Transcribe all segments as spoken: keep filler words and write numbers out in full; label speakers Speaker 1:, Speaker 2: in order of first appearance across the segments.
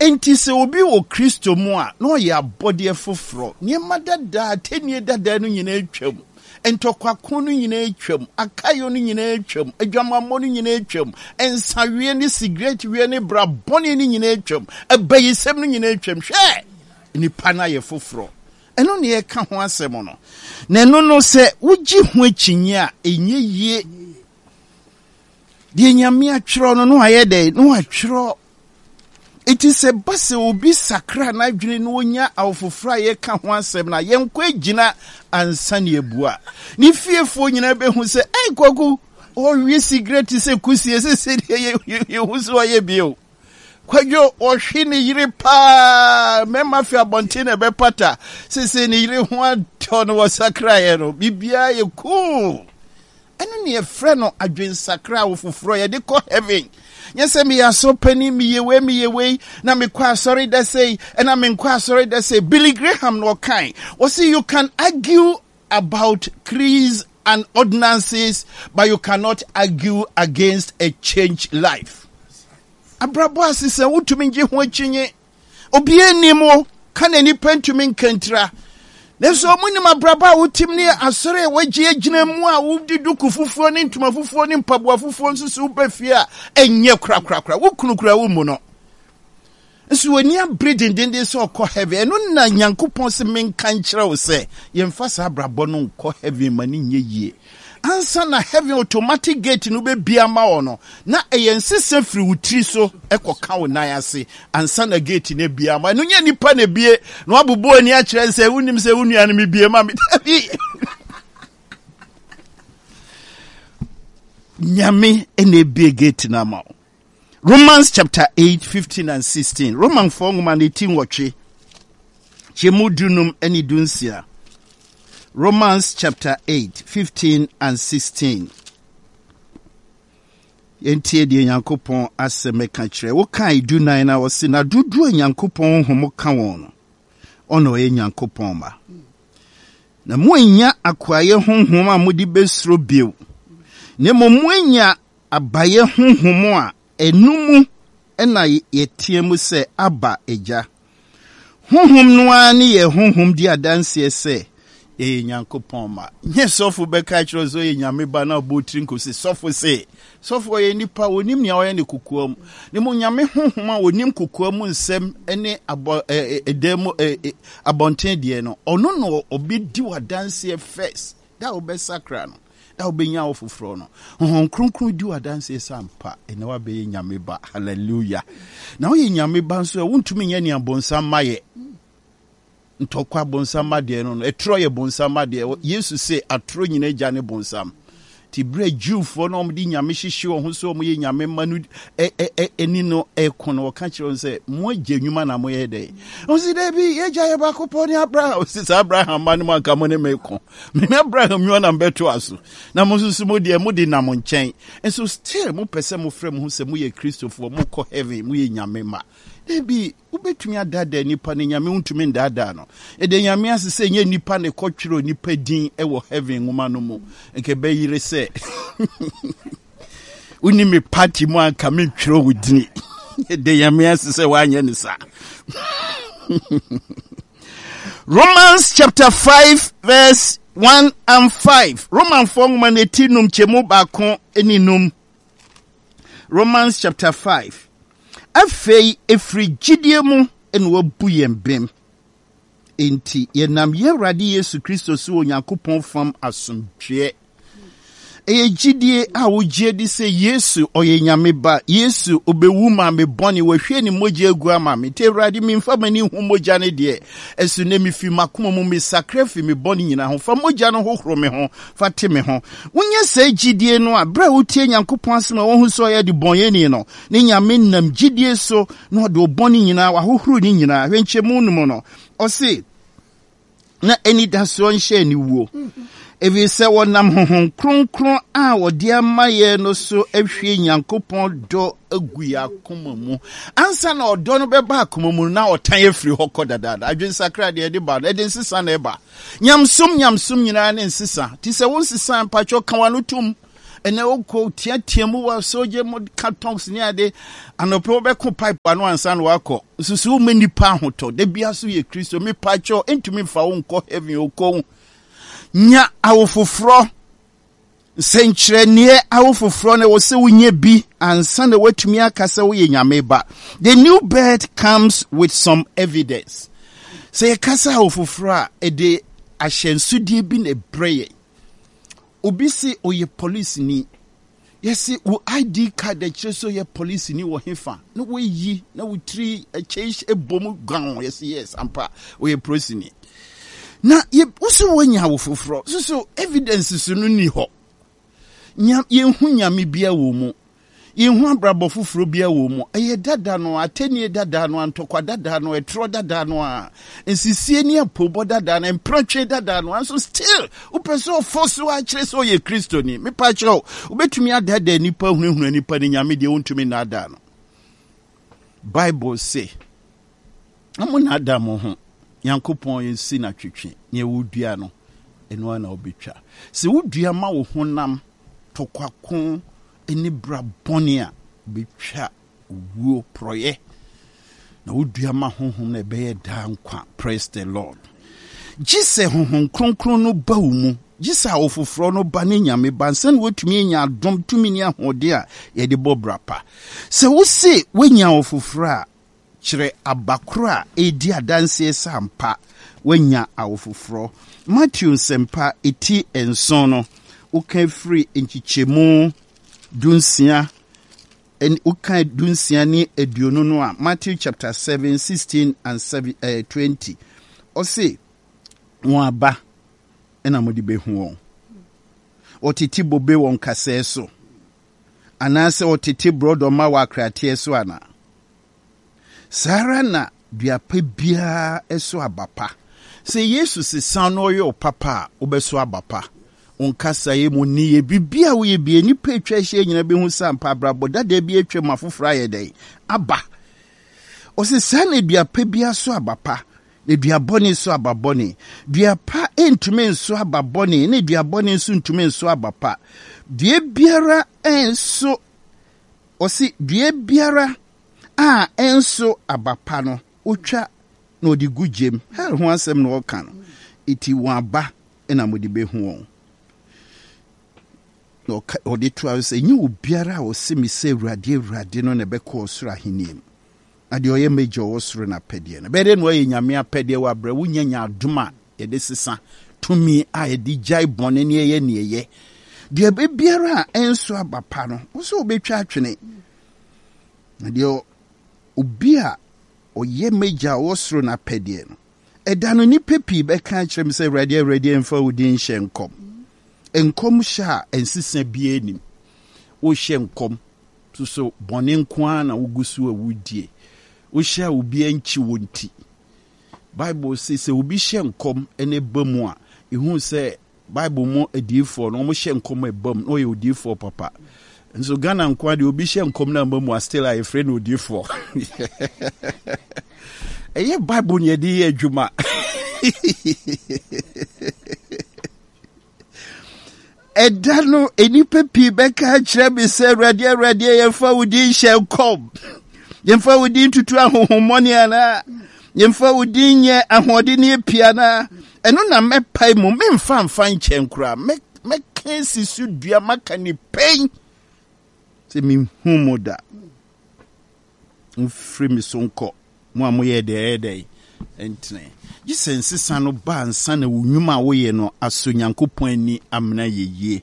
Speaker 1: Enti sɛ obi wɔ Kristo mu a, na ɔyɛ abɔdeɛ foforɔ. Nneɛma dadaa, atɛnnie dadaa no nyinaa atwam. Ntɔkwako no nyinaa atwam. Akayo no nyinaa atwam. Adwamammɔ no nyinaa atwam. Nsaweɛ ne sigaretweɛ ne bra bɔne no nyinaa atwam. Abayisɛm no nyinaa atwam. Hwɛ! Nipa no ayɛ foforɔ. Ɛno na yɛka ho asɛm no. Na ɛno no, sɛ wogye ho akyinnye a, ɛnyɛ yie. Deɛ Nyame atwerɛ no, na wayɛ dɛn? Na watwerɛ. Enti sɛ ba sɛ obi sakra n'adwene na onya awofoforɔ a yɛka ho asɛm no a, yɛnkɔ agyina ansa ne abua. Ne fiefoɔ nyinaa bɛhu sɛ, ɛy Kwaku, ɔwe sigaret sɛ kusie, sɛ sɛdeɛ yɛhu sɛ ɔyɛ bio. Kwadwo, ɔhwe ne yere paa, mmarima fi abɔnten na ɛbɛpata, sese ne yere ho atɔ no, wɔsakraeɛ no, biribiara yɛ cool. Ɛno ne yɛfrɛ no adwensakra, wo foforɔ yɛde kɔ heaven. Nyɛ sɛ meyɛ asɔrpanin, meyɛ wei, meyɛ wei, na mekɔ asɔre da sei, ɛna menkɔ asɔre da sei. Billy Graham na ɔkae, wɔse you can argue about creeds and ordinances, but you cannot argue against a changed life. Abrabɔ asesa, wotumi ngye ho akyinye. Obiara nnim wo, ka na nipa ntumi nkantira. Nanso ɔmo nim abrabɔ a wotim ne asɔre a wɔagye agyina mu a wode duku fufuo ne ntoma fufuo ne mpaboa fufuo nso so woba fie a ɛnyɛ korakorakora. Wo kunu kura wo mu no. Nso w'ani abere dendenden sɛ ɔkɔ heaven. Ɛno na Nyankopɔn se menka nkyerɛ wo sɛ yɛmfa saa abrabɔ no nkɔ heaven ma no nyɛ yie. Ansa na heaven automatic gate no bɛbia ama wɔ no, na ɛyɛ nsesa firi wo tiri so ɛkɔka wo nan ase ansa na gate no abia ama. Ɛno nyɛ nipa na ebie na wabobɔ ani akyerɛ sɛ wonim sɛ wo nua no mebie ma me. Dabi. Nyame na ebie gate no ama wo. Romans chapter eight, fifteen and sixteen. Romanfoɔ nwoma no ti nwɔtwe, kyɛmu dunum ne dunsia. Romans chapter eight, fifteen and sixteen. Yɛntie deɛ Nyankopɔn asɛm ka kyerɛ. Wokae dunan na ɔse, na dodoɔ a Nyankopɔn honhom ka wɔn no, ɔna ɔyɛ Nyankopɔn ma. Na moannya akoayɛ honhom a mode bɛsuro bio, na mmom moanya abayɛ honhom a ɛno mu na yɛteɛ mu sɛ, Abba, Agya. Honhom no ara ne yɛn honhom di adanseɛ sɛ yɛyɛ Nyankopɔn mma. Nyɛ sɔfo bɛka kyerɛ sɛ ɔyɛ Nyame ba na ɔbɔ tiri nkosi. Sɔfo se, sɔfo ɔyɛ nipa, onim nea ɔyɛ ne kokoa mu. Ne mu Nyame honhom a onim kokoa mu nsɛm ne abɔ ɛdan mu abɔnten deɛ no, ɔno na ɔbɛdi w'adanseɛ first. Da a wobɛsakra no, da a wobɛnya wo foforɔ no, Honhom Kronkron di w'adanseɛ sɛ ampa ɛnɛ woabɛyɛ Nyame ba. Hallelujah. Na woyɛ Nyame ba nso a, wontumi nyɛ nea bonsam ma yɛ. Ntɔkwa bonsam ma deɛ no no, ɛtorɔ yɛ bonsam ma deɛ. Yesu se atorɔ nyina agya ne bonsam. Nti berɛ a Jewfoɔ no a wɔde Nyame hyehye wɔn ho sɛ wɔyɛ Nyame mma no ani no ɛko no, wɔka kyerɛ wɔn sɛ, mo agya nnwuma na moyɛ dɛn? Wɔn sɛ, daabi, yɛagya yɛ baako pɔ ne Abraham. Wɔsi sɛ Abraham mma no mu anka mo ne me ko. Mene Abraham nnwuma na mbɛtoa so. Na mo nso so mo deɛ mode nam nkyɛn. Nso still mopɛ sɛ mofrɛ mo ho sɛ moyɛ Kristofoɔ, mokɔ heaven, moyɛ Nyame mma. Daabi, wobɛtumi adaadaa nipa no, Nyame wontumi ndaadaa no. Yɛda Nyame ase sɛ ɛnyɛ nipa na ɛkɔtwerɛ nipa din wɔ heaven nwoma no mu. Nka ɛbɛyere sɛ wonni me party mu anka mentwerɛ wo dini. Yɛda Nyame ase sɛ woanyɛ ne saa. Romans chapter five verse one and five. Romanfoɔ nwoma no ti num kyɛmu baako ne num. Romans chapter five. Afei ɛfiri gyidie mu na wabu yɛn bem. Enti yɛnam yɛn Awurade Yesu Kristo so wɔ Onyankopɔn fam asomdwoeɛ. Ɛyɛ gyidie a wogye di sɛ Yesu ɔyɛ Nyame ba. Yesu ɔbɛwu maa me bɔne, wahwie ne mogya agu ama me. Nti Awurade memfa m'ani nhu mogya no deɛ, ɛso nnɛ mefi m'akoma mu mesakra fi me bɔne nyinaa ho. Fa mogya no hohoro me ho, fa te me ho. Wonya saa gyidie no a, berɛ a wotie Nyankopɔn asɛm a wohu sɛ ɔyɛ adebɔnyɛni no, ne Nyame nam gyidie so na ɔde wo bɔne nyinaa, wahohoro ne nyinaa. Hwɛ nkyɛmu no mu no, ɔse, na anidasoɔ nhyɛ aniwuo, ɛfiri sɛ wɔnam Honhom Kronkron a wɔde ama yɛn no so ahwie Nyankopɔn dɔ agu yɛn akoma mu. Ansa na ɔdɔ no bɛba akoma mu no, na ɔtan afiri hɔ kɔ dadaada. Adwensakra deɛ ɛde ba no, ɛde nsesa na ɛba. Nyamsom nyamsom nyinaa ne nsesa. Nti sɛ wo nsesa mpakyɛ ka w'ano tom. Ɛnɛ wokɔ teatea mu wɔ sogya mu ka tongues ne ade. Anɔpɛ wobɛko pipe ano ansa na wakɔ. Nsusu woma nipa ahotɔ. Da bia so yɛ Kristo. Mepa kyɛw, ntumi mfa wo nkɔ heaven okɔ. Nya awo foforɔ. Nsɛnkyerɛnneɛ awo foforɔ na ɛwɔ sɛ wonya bi ansa na woatumi aka sɛ woyɛ Nyame ba. The new birth comes with some evidence. Sɛ yɛkasa awo foforɔ a, ɛde ahyɛnsodeɛ bi na ɛbrɛ yɛn. Obi se ɔyɛ polisini. Yɛse wo I D card akyerɛ sɛ ɔyɛ polisini wɔ hefa na woayi na wo tiri akyɛ ɛbɔ mu gan. Yɛse yes, ampa, ɔyɛ polisini. Na yɛ woso woanya awo foforɔ so so evidence so no ni hɔ. Nya yɛnhu Nyame bia wɔ mu, yɛnhu abrabɔ foforɔ bia wɔ mu. Ɛyɛ dada no, atɛnie dada no, antɔkwa dada no, ɛtorɔ dada no, a nsisie ne apobɔ dada no, mpratwe dada no. Nso still wopɛ sɛ ɔfɔ so akyerɛ sɛ ɔyɛ Kristoni. Mepa kyerɛ wo, wobɛtumi adaadaa nnipa, hunahuna nnipa ne Nyame deɛ, wontumi nnaadaa no. Bible se na mo naadaa mo ho. Nyankopɔn yɛnsi no atwetwe. Neɛ wodua no, ɛno ara na wobɛtwa. Sɛ wodua ma wo honam tɔkwako ne bra bɔne a, wobɛtwa owuo porɔyɛ, na wodua ma honhom no, ɛbɛyɛ daa nkwa. Praise the Lord. Gye sɛ Honhom Kronkron no ba wo mu, gye sɛ awo foforɔ no ba ne Nyame ba nsa na woatumi anya adom tumi ne ahoɔden a yɛde bɔ bra pa. Sɛ wose woanya awo foforɔ a, kyerɛ aba koro a ɛredi adanseɛ sɛ ampa woanya awo foforɔ. Matthew Nsɛmpa ɛti nson no, woka firi nkyekyɛmu dunsia, woka dunsia ne aduonu no a, Matthew chapter seven, sixteen and seven, eh, twenty, ɔse wɔn aba ɛna mode bɛhu wɔn. Ɔtete bobe wɔ nkasɛɛ so anaasɛ ɔtete borɔdɔma wɔ akrateɛ so anaa? Saa ara na duapa biara so aba pa. Sɛ Yesu sesa no, ɔyɛ ɔpapa a, wobɛso aba pa. Wo nkasaeɛ mu nneyɛ, biribi a woyɛ bia, nnipa atwa ahyia nyina bɛhu sɛ ampa abrabɔ dada bi atwa mu, afoforɔ ayɛ dɛn aba. Ɔsɛ saa na duapa biara so aba pa, na dua bɔne so aba bɔne. Dua pa ntumi nso aba bɔne, na dua bɔne nso ntumi nso aba pa. Dua biara nso, ɔsi dua biara a ɛnso aba pa no, wotwa na ɔde gu gyem. Hell ho asɛm na ɔka no. Eti wɔn aba na mode bɛhu wɔn. Na ɔde toa sɛ, nyɛ obiara a ɔse me sɛ 'Awurade, Awurade' no na ɛbɛkɔ ɔsoro ahenni mu, na deɛ ɔyɛ m'agya ɔwɔ soro no apɛdeɛ no. Bɛyɛ dɛ na ɔyɛ Nyame apɛdeɛ wɔ abrɛ wonya nya adom a yɛde sesa tumi a yɛde gyae bɔne ne ɛyɛ ne ɛyɛ. Deɛ biara a ɛnso aba pa no, wo sɛ wobɛtwa atwene, na deɛ obi a ɔyɛ m'agya a ɔwɔ soro no apɛdeɛ no. Ɛda no, nnipa pii bɛka akyerɛ me sɛ, 'Awurade, Awurade, ɛmfa wo din hyɛ nkɔm?' Nkɔm hyɛ a ɛnsesa biara nim. Wohyɛ nkɔm soso, bɔne nko ara na wogu so a wodie. Wohyɛ a obi ankyi wo nti, Bible se sɛ obi hyɛ nkɔm ne ba mu a, ɛhu sɛ Bible mu adiyifoɔ no, wɔhyɛ nkɔm a ɛba mu na ɔyɛ odiyifoɔ papa. Nso Ghana nko ara deɛ, obi hyɛ nkɔm no amba mu a, still a yɛfrɛ no odiyifoɔ. Ɛyɛ Bible ne yɛde yɛ adwuma. Ɛda no, nnipa pii bɛka akyerɛ me sɛ, 'Awurade, Awurade, yɛmfa wo din hyɛ nkɔm, yɛmfa wo din tutu ahohommɔne anaa yɛmfa wo din nyɛ ahoɔden ne api anaa?' Ɛno na mɛpae mu, memfa mfa nkyɛn koraa, mɛka si so dua, maka ne pɛn sɛ menhu mo da. Mfiri me so nkɔ, mo a moyɛ deɛ ɛyɛ dɛn ntene." Gye sɛ nsesa no ba ansa na wo nnwuma a woyɛ no asɔ Nyankopɔn ani amena yɛ yie.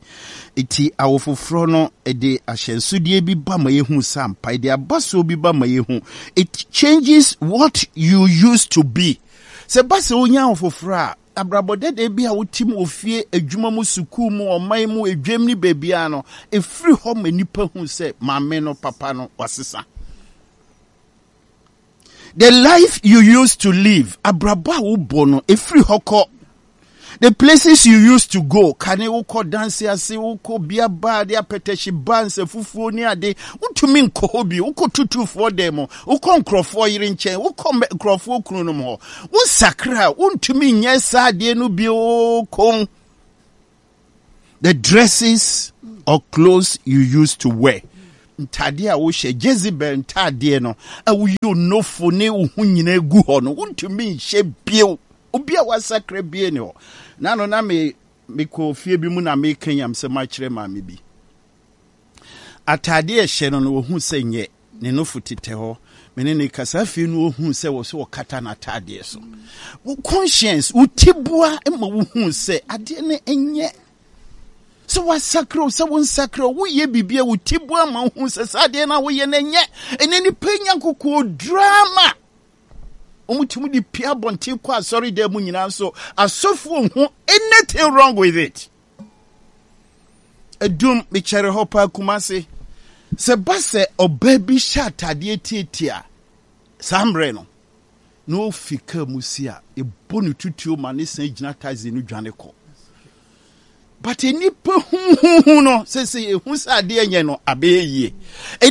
Speaker 1: Enti awo foforɔ no, ɛde ahyɛnsodeɛ bi ba ma yɛhu sɛ ampa, ɛde abasoɔ bi ba ma yɛhu. It changes what you used to be. Sɛ ba sɛ wonya awo foforɔ a, abrabɔ dɛdɛ bi a wotim wɔ fie, adwuma mu, sukuu mu, ɔman mu, edwam ne baabiara no, ɛfiri hɔ ma nnipa hu sɛ maame no, papa no, wasesa. The life you used to live, abrabɔ a wobɔ no, ɛfiri hɔ kɔ. The places you used to go, kane wokɔ danse ase, wokɔ bia ba de apɛtɛhye ba nsɛ fufuo ne ade, wotumi nkɔ hɔ bi. Wokɔ tutufoɔ dan mu, wokɔ nkurɔfoɔ yere nkyɛn, wokɔ nkurɔfoɔ kunu nom hɔ. Wosakra a, wontumi nyɛ saa adeɛ no bio. Kon The dresses or clothes you used to wear. Ntadeɛ a wohyɛ, Jezebel ntadeɛ no a woyi onofo ne wo ho nyinaa gu hɔ no, wontumi nhyɛ bio. Obi a wasakra bie ne hɔ. Na no na me mekɔ fie bi mu na meka nyamsɛm akyerɛ maame bi. Atadeɛ ɛhyɛ no no, wɔhu sɛ nyɛ ne nofo tetɛ hɔ. Me ne ne kasa, afei no wɔhu sɛ wɔ so wɔkata n'atadeɛ so. Wo conscience, wo tiboa ma wohu sɛ adeɛ no nyɛ sɛ wasakra o, sɛ wonsakra o, woyɛ biribi a wo tiboa ma wohu sɛ saa adeɛ no a woyɛ no nyɛ. Ɛnɛ nipa nya nkokoɔ drama, wɔn de pia abɔnten kɔ asɔredan mu nyinaa nso, asɔfoɔ hu anything wrong with it. Edum mekyɛre hɔ paa, Kumase, sɛ ba sɛ ɔbaa bi hyɛ atadeɛ tietia saa mmerɛ no na ofi kaa mu si a, ɛbɔ ne tutuo ma ne san gyina taxi no dwane kɔ. But nipa huhuhu no sɛ sɛ ehu sɛ adeɛ nyɛ no abɛyɛ yie.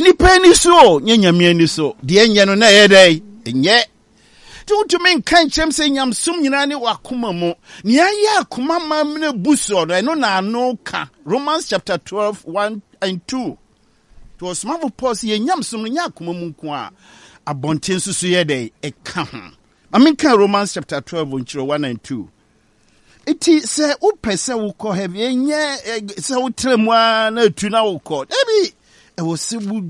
Speaker 1: Nipa ani so o, nyɛ Nyame ani so. Deɛ nyɛ no na ɛyɛ dɛ nyɛ nti wotumi nka nkyɛm sɛ nyamsom nyinaa ne wakoma mu. Nea ayɛ akoma ma mmerɛ bu soɔ no, ɛno na ano ka Romans chapter twelve one and two. Nti ɔsomafo Paul sɛ yɛn nyamsom no nyɛ akoma mu nko a, abɔnten nso so yɛ dɛ ɛka ho. Ma menka Romans chapter twelve nkyerɛ one and two. Nti sɛ wopɛ sɛ wokɔ heaven, ɛnyɛ sɛ wotrɛ mu a na atu na wokɔ. Dabi, ɛwɔ sɛ wo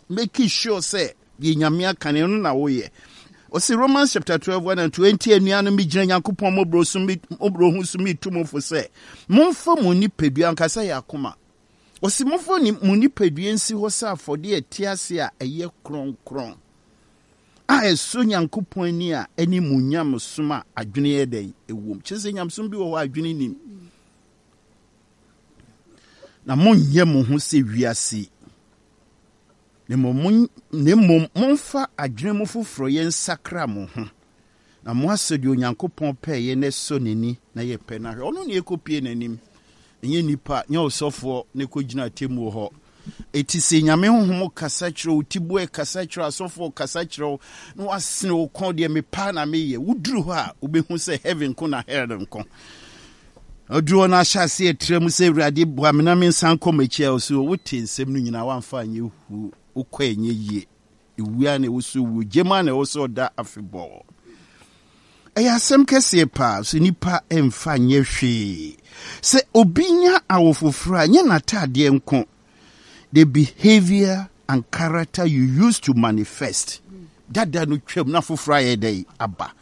Speaker 1: make sure sɛ deɛ Nyame aka no, ɛno na woyɛ. Ɔsi Romans chapter twelve one and two, enti anuanom, megyina Nyankopɔn mmɔborɔ so, mmɔborɔhu so metu mo fo sɛ momfa mo nipadua ankasa yɛ akoma. Ɔsi momfa mo nipadua nsi hɔ sɛ afɔdeɛ ɛte ase a ɛyɛ kronkron a ɛsɔ Nyankopɔn ani a ɛne mo nyamesom a adwene yɛ dɛn ɛwom. Kyerɛ sɛ nyamesom bi wɔ hɔ a adwene nim. Na monyɛ mo ho sɛ wiase, na mmom momfa adwene mu foforɔ yɛ nsakra mo ho, na mo asɔ deɛ Onyankopɔn pɛɛyɛ na ɛsɔ n'ani na yɛ pɛ no ahwɛ. Ɔno ne ɛkɔpie n'anim, ɛnyɛ nipa, nyɛ ɔsɔfoɔ ne kɔgyina atemmuo hɔ. Ɛti sɛ Nyame honhom kasa kyerɛ wo, tiboɛ kasa kyerɛ, asɔfoɔ kasa kyerɛ wo na wasene wo kɔn, deɛ mepaa na meyɛ, woduru hɔ a wobɛhu sɛ heaven ko na hell nko. Ɔduru hɔ no ahyɛ ase ɛtrɛ mu sɛ, Awurade, boa me na mensan kɔ m'akyi a, ɔso wote nsɛm no nyinaa woamfa anyɛ hu, wokɔ ɛnyɛ yie. Ewua na ɛwɔ so wuo, gyema na ɛwɔ sɛ ɔda afebɔɔ. Ɛyɛ asɛm kɛseɛ paa so nipa mfa nyɛ hwee. Sɛ obi nya awo foforɔ a, nyɛ n'ataadeɛ nko. The behavior and character you used to manifest dada no twam na foforɔ ayɛ dɛn aba.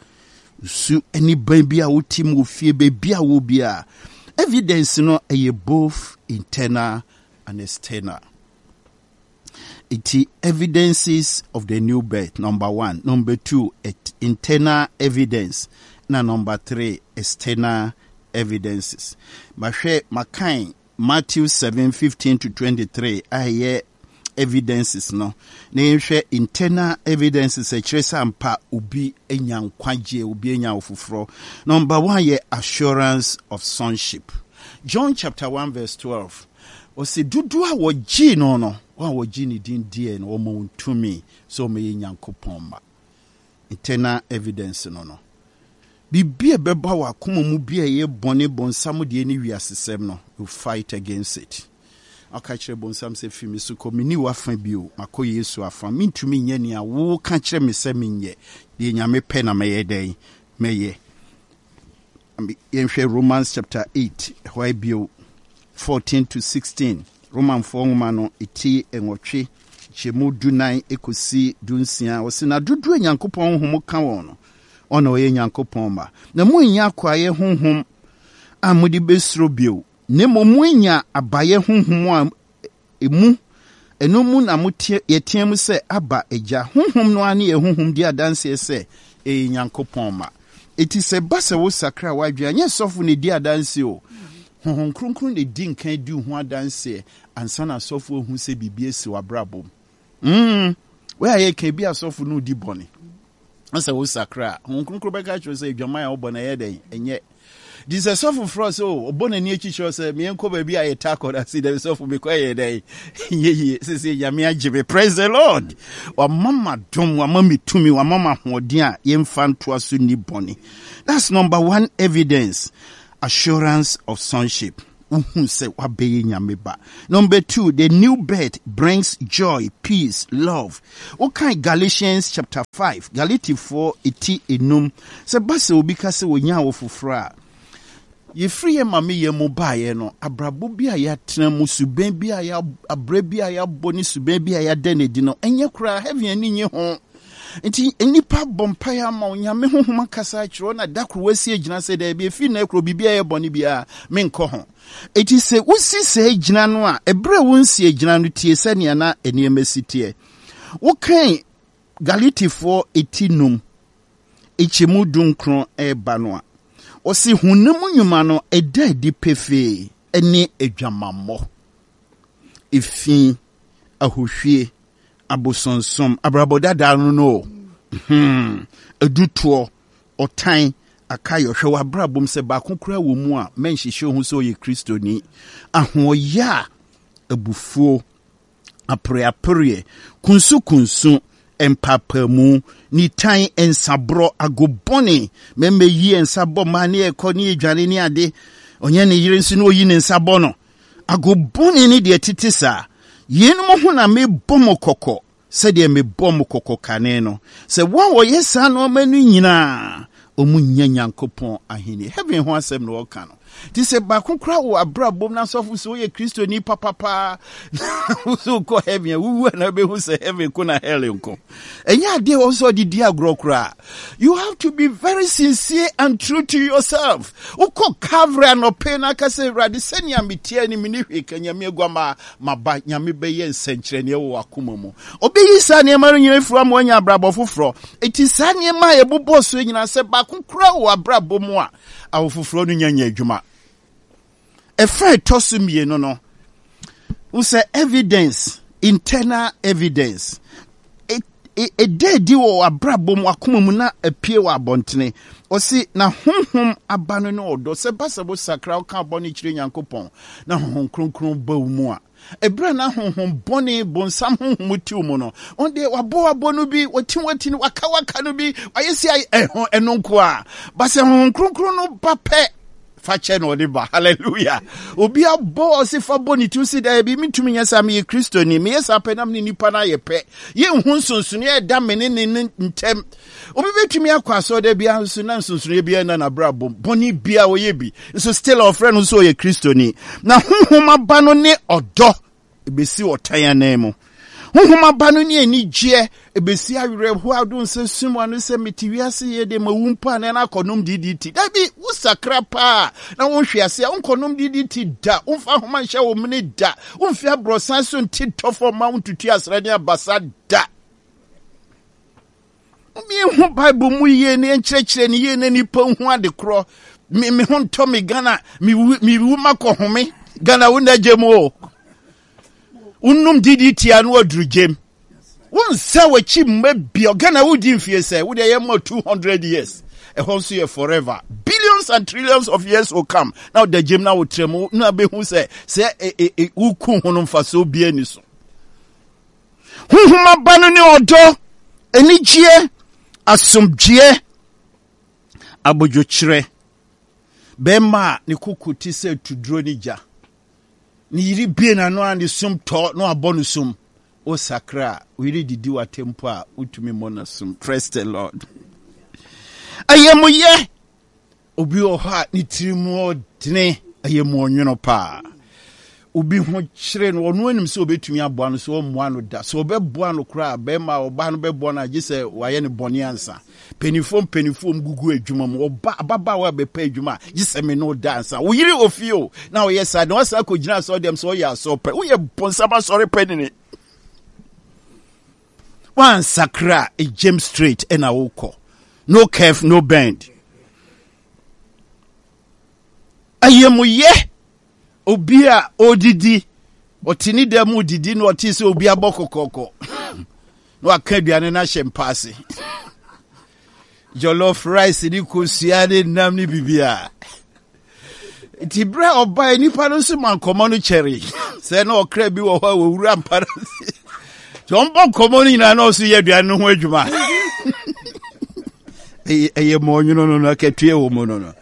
Speaker 1: Su ne ban bi a wote mu wɔ fie, baabi a wɔ bi a, evidence no ɛyɛ both internal and external. Nti evidences of the new birth, number one. Number two, internal evidence. Na number three, external evidences. Mahwɛ makan Matthew seven fifteen to twenty-three a ɛyɛ evidences no, na yɛnhwɛ internal evidences ɛkyerɛ sɛ ampa obi anya nkwagyeɛ, obi anya afoforɔ. Number one yɛ assurance of sonship. John chapter one verse twelve, ɔsɛ dodoɔ a wɔgyee no no, wɔn a wɔgye ne din diɛ no, wɔma wɔn tumi sɛ wɔyɛ Nyankopɔn mma. Internal evidence no no biribi a ɛbɛba wɔ akoma mu bi a ɛyɛ bɔne, bɔnsam deɛ ne wiasesɛm no, you fight against it. Ɔka kyerɛ bonsam sɛ, fi me so kɔ, menni w'afa bio, makɔ Yesu afa. Mentumi nyɛ nea woka kyerɛ me sɛ menyɛ. Deɛ Nyame pɛ na mɛyɛ dɛn? Mɛyɛ. Yɛnhwɛ Romans chapter eight ɛhɔ bio, fourteen to sixteen. Romanfoɔ nwoma no ɛti nwɔtwe kyɛmu dunan ɛkɔsi dunsia. Ɔse na dodoɔ a Nyankopɔn honhom ka wɔn no, ɔna ɔyɛ Nyankopɔn ma. Na moanya akoayɛ honhom a mode bɛsuro bio, na mmom moanya abayɛ honhom a emu ɛno mu na mote yɛteɛ mu sɛ, Aba, Agya. Honhom no ara ne yɛn honhom di adanseɛ sɛ ɛyɛ Nyankopɔn ma. Enti sɛ ɛba sɛ wosakra w'adwene a, nyɛ sɔfo na ɛdi adanseɛ o. Honhom Kronkron na ɛdi nkan di wo ho adanseɛ ansa na asɔfo ahu sɛ biribi asi w'abrabɔ mu. Mm, wei a yɛka bi, asɔfo no di bɔne. Sɛ wosakra a, Honhom Kronkron bɛka kyerɛ sɛ adwaman a wobɔ no ɛyɛ dɛn? Ɛnyɛ. Nti sɛ sɔfo frɛ sɛ o, ɔbɔ n'ani akyi kyerɛ sɛ meɛnkɔ baabi a yɛta akɔ no ase dɛm, sɔfo mekɔ ɛyɛ dɛn? Ɛnyɛ yie. Sɛsɛ Nyame agye me, praise the Lord. Wama ma dom, wama me tumi, wama ma ahoɔden a yɛmfa ntoa so nni bɔne. That's number one evidence, assurance of sonship. Wohu sɛ wabɛyɛ Nyame ba. Number two, the new birth brings joy, peace, love. Wokan Galatians chapter five, Galatifoɔ eti enum, sɛ ba sɛ obi ka sɛ wɔnya wo foforɔ a, yɛfiri yɛ maame yɛ mu baeɛ no, abrabɔ bi a yɛatena mu, suban bi a yɛ, abrɛ bi a yɛabɔ ne suban bi a yɛada n'adi no, ɛnyɛ koraa, heaven ani nye ho. Nti nnipa bɔ mpaeɛ ama wo, Nyame honhom akasa akyerɛ wo, na da koro woasi agyina sɛ daabi, ɛfiri nnɛ koro biribi a ɛyɛ bɔne biara menkɔ ho. Enti sɛ wosi saa gyina no a, ɛberɛ a wonsi agyina no, tie sɛnea na nneɛma si teɛ. Wokan Galatifoɔ eti num, nkyɛmu dunkron ɛreba no a, ɔse honam nnwuma no ɛda adi pefee ne adwamammɔ, efi, ahohwie, abosonsom, abrabɔ dada no no, hmm, adutoɔ, ɔtan, akayɔ. Hwɛ w'abrabɔ mu sɛ baako koraa wɔ mu a, mɛnhyehyɛ ho sɛ ɔyɛ Kristoni. Ahoɔyɛ a, abufuo, apereapereɛ, kunsukunsu, mpaapaemu, nitan, nsaborɔ, agobɔne, mɛmɛyi nsa bɔ mmaa ne ɛkɔ ne edwane ne ade, ɔnyɛ ne yere nso na oyi ne nsa bɔ no. Agobɔne ne deɛ tete saa. Yeinom ho na mebɔ mo kɔkɔ sɛdeɛ mebɔ mo kɔkɔ kane no, sɛ wɔn a wɔyɛ saa nneɛma no nyinaa, ɔmo nya Nyankopɔn ahenni. Heaven ho asɛm na ɔka no. Nti sɛ baako koraa wɔ abrabɔ mu na asɔfo sɛ woyɛ Kristoni papapaa, sɛ wokɔ heaven a, wowu a na wobɛhu sɛ heaven ko na hell nko. Ɛnyɛ adeɛ wɔ sɛ ɔde di agorɔ koraa. You have to be very sincere and true to yourself. Wokɔ Calvary anɔpɛ na aka sɛ, Awurade, sɛnea meteɛ ne mene hwee ka Nyame aguama maba. Nyame bɛyɛ nsɛnkyerɛnneɛ wɔ w'akoma mu. Ɔbɛyi saa nneɛma no nyinaa afiri ama woanya abrabɔ foforɔ. Enti saa nneɛma a yɛbobɔɔ so nyinaa, sɛ baako koraa wɔ abrabɔ mu a, awo foforɔ no nya nya adwuma. Ɛfa ɛtɔ so mmienu no, wo sɛ evidence, internal evidence, ɛda adi wɔ abrabɔ mu, akoma mu na apue wɔ abɔntene. Ɔsi na honhom aba no ne ɔdɔ. Sɛ ba sɛ wo sakra, woka bɔne kyerɛ Nyankopɔn na Honhom Kronkron ba wo mu a, ɛberɛ na honhom bɔne, bonsam honhom te wo mu no, ɔno deɛ wabɔ wabɔ no bi, wati wati no, waka waka no bi, wayɛ si ayɛ ɛho ɛno nko a. Ba sɛ Honhom Kronkron no ba pɛ, fa kyɛ na ɔde ba. Hallelujah. Obi abɔ ɔse fa bɔ ne ti si dɛ bi mentumi nyɛ saa, meyɛ Kristoni, meyɛ saa pɛ na me ne nipa no ayɛ pɛ. Yɛnhu nsonsonoeɛ a ɛda me ne ne ne ntɛm. Obi bɛtumi akɔ asɔre biara nso na nsonsonoeɛ biara nna n'abrabɔ mu, bɔne biara ɔyɛ bi nso still ɔfrɛ no nso ɔyɛ Kristoni. Na honhom aba no ne ɔdɔ, ebesi ɔtan anan mu. Honhom aba no ne anigyeɛ, ebesi awerɛhoɔ a wode nsa sum ano sɛ mete wiase yɛ de ma wu mpo a na akɔnom D D T. Dabi, wosakra paa na wonhwe ase a, wonkɔnom D D T da, womfa ahoma nhyɛ wo mene da, womfi aborɔsan so nte tɔfɔ ma wontutu asra ne abasa da. Yɛnhu Bible mu yie na yɛnkyerɛkyerɛ ne yie na nipa hu ade korɔ. Me me ho ntɔ me Ghana, mewu mewu makɔ home. Ghana wo na gye mu o. Wonum D D T a na waduru gyem. Wonsa w'akyi mma bia. Ghana wodi mfie sɛ wode ɛyɛ ma two hundred years. Ɛhɔ nso yɛ forever. Billions and trillions of years will come. Na ɔda gyem na wotrɛ mu na bɛhu sɛ sɛ e, e, e, woku ho no mfasoɔ bia ni so. Honhom aba no ne ɔdɔ, anigyeɛ, asomdwoeɛ, abodwokyerɛ. Bɛrima a ne koko te sɛ tuduro ne gya, ne yere bie n'ano a ne sum tɔ na wabɔ no sum. Wosakra a, wo yere didi w'atɛmpo a, wotumi mmɔ no sum. Praise the Lord. Ayamuyɛ. Obi wɔ hɔ a ne tiri mu ɔdene, ayɛmuɔnwono paa. Obi ho kyerɛ no, ɔno anim sɛ obɛtumi aboa no, sɛ ɔmmoa no da. Sɛ ɔbɛboa no koraa, bɛrima a ɔbaa no bɛboa no agye sɛ wayɛ no bɔne ansa. Mpanimfoɔ mpanimfoɔ mu gugu adwuma mu, ɔba ababaawa a bɛpɛ adwuma a, gye sɛ me no da ansa. Wo yere wɔ fie o, na ɔyɛ saa na wasan akɔgyina asɔre dɛm sɛ ɔyɛ asɔre pɛ. Woyɛ bonsam asɔre pɛ nini. Wansakra a, James straight ɛna wokɔ. No curve, no bend. Ayamuyɛ. Obi a ɔdidi, ɔte ne dan mu didi na ɔte sɛ obi abɔ kɔkɔkɔ na waka aduane no ahyɛ mpa ase, jollof rice ne kosua ne nam ne biribiara. Nti berɛ a ɔbae, nipa no nso ma nkɔmmɔ no kyɛre sɛ na ɔkra bi wɔ hɔ a wɔwura mpa no ase, nti ɔmbɔ nkɔmmɔ no nyinaa na ɔso yɛ aduane no ho adwuma. Ɛyɛ mɔnwono no no akatua wɔ mu no no